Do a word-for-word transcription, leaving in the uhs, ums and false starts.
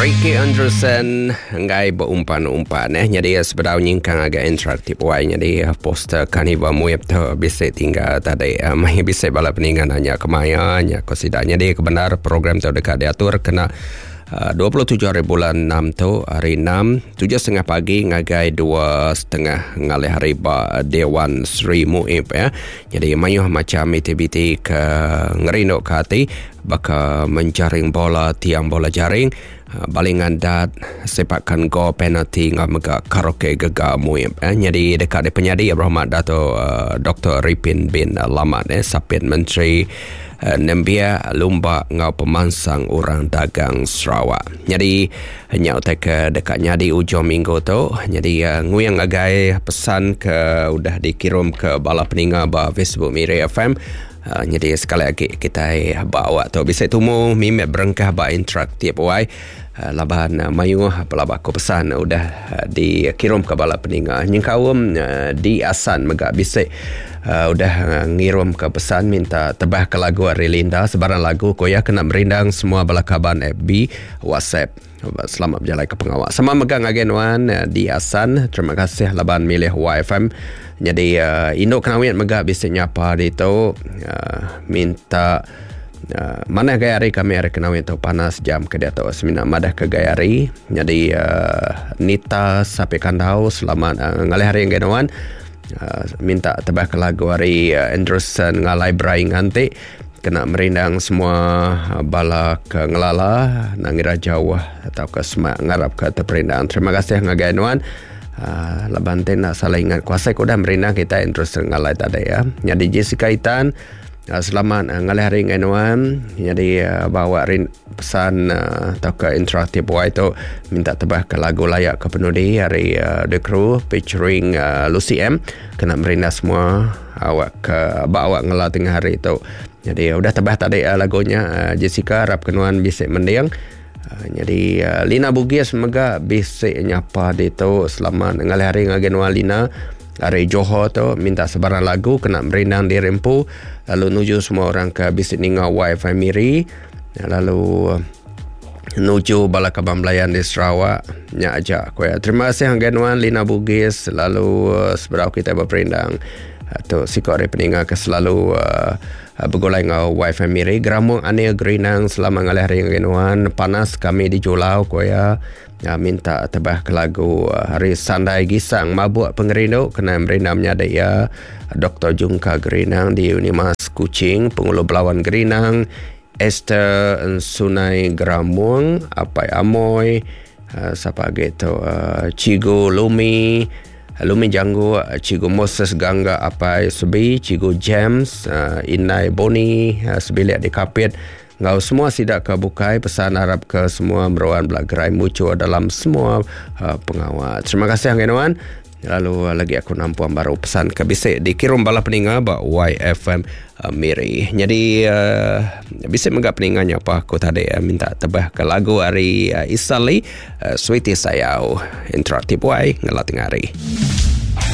Ricky Anderson enggai berumpan-umpan eh. Jadi sebedau nyingkang agak interaktif wai, jadi poster Karnival Muip tu bisa tinggal tadi. Uh, mai bisa bala peningan nanya kemaya nya ko sida. Jadi kebenar program tu dekat diatur kena uh, dua puluh tujuh hari bulan enam tu, hari enam, tujuh setengah pagi ngagai dua setengah ngalih hari ba Dewan Sri Muip ya. Jadi mayuh macam aktiviti ke ngerinduk ke hati, baka menjaring bola, tiang bola jaring, balingan dat, sepakan gol penalti ngau mega karaoke gegar Muip eh. Jadi dekat di penyadi Berhormat Dato uh, Doktor Ripin bin Lamat eh, Sapit Menteri uh, Nembia Lumba ngau Pemansang Orang Dagang Sarawak. Jadi nya utai ke dekat nyadi ujung minggu tu. Jadi uh, nguyang agai pesan ke udah dikirim ke bala peninga ba Facebook Miri F M. Uh, jadi sekali lagi kita bawa tu bisa tumu mimet berengkah ba interaktif wai. Uh, laban uh, mayuh pelaba aku pesan udah uh, dikirim ke bala peninga. Nyengkaum uh, di Asan mega bisa uh, udah uh, ngirim ke pesan minta tebah ke lagu ari Linda sebarang lagu koya kena merindang semua bala kaban F B WhatsApp. Selamat berjalan ke pengawal. Sama megang agen wan di Asan. Terima kasih laban milih Y F M. Jadi uh, induk kenawit mega bisa nyapa di tu uh, minta uh, mana gaya hari kami hari kenawit tu panas jam ke dia tu semina madah ke gaya hari. Jadi uh, Nita Sapi Kandau selamat uh, ngalih hari yang wan uh, minta tebah ke lagu hari uh, Anderson ngalai berai nganti kena merindang semua bala ke ngelala nangira jauh atau ke semak ngarap ke terperindang. Terima kasih ngagai nuan. Uh, laban te nak salah ingat kuasa ku dah merindang kita Anderson ngalai tadi ya. Jadi Jessica Itan uh, selamat uh, ngalih hari ngai nuan. Jadi uh, bawa rin, pesan uh, atau ke interaktif Y tu minta tebah ke lagu layak ke penudi hari uh, The Crew featuring uh, Lucy M kena merindang semua awak ke bak awak ngela tengah hari tu. Jadi udah tebah tadi uh, lagunya uh, Jessica harap kenuan bisik mendiang. Uh, jadi uh, Lina Bugis mega bisik nyapa di tu selamat ngalih hari ngagen nuan Lina hari Johor tu minta sebarang lagu kena merindang di rempu lalu nuju semua orang ke bisik ninga Y F M Miri lalu uh, nuju bala kabang belayan di Sarawak nya aja aku ya. Terima kasih ngagen nuan Lina Bugis lalu uh, seberau kita berperindang tu sikok hari peninga ke selalu uh, bergulai ngau Y F M Miri Geramung Anil Gerinang selama ngalih hari ngenuan panas kami di Julau koya ya, minta tebah ke lagu uh, hari Sandai Gisang mabuk pengerindu kena merindam nyadai ya Doktor Jungka Gerinang di Unimas Kuching Pengulu Belawan Gerinang Esther Sunai Geramung Apai Amoy uh, siapa lagi tu uh, Cigu Lumi Lumi Janggu, Cikgu Moses Gangga Apai Sebi, Cikgu James, uh, Inai Boni, uh, sebilik di Kapit. Ngau semua sidak ke bukai, pesan harap ke semua meruan belagerai muncul dalam semua uh, pengawal. Terima kasih Hang Enuan. Lalu uh, lagi aku nampuan baru pesan ke bisik dikirim bala peninga ba Y F M uh, Miri. Jadi uh, bisik mega peninganya apa aku tadi uh, minta tebah ke lagu hari uh, Isali uh, Sweetie Sayau interaktif Y ngelat tengah hari.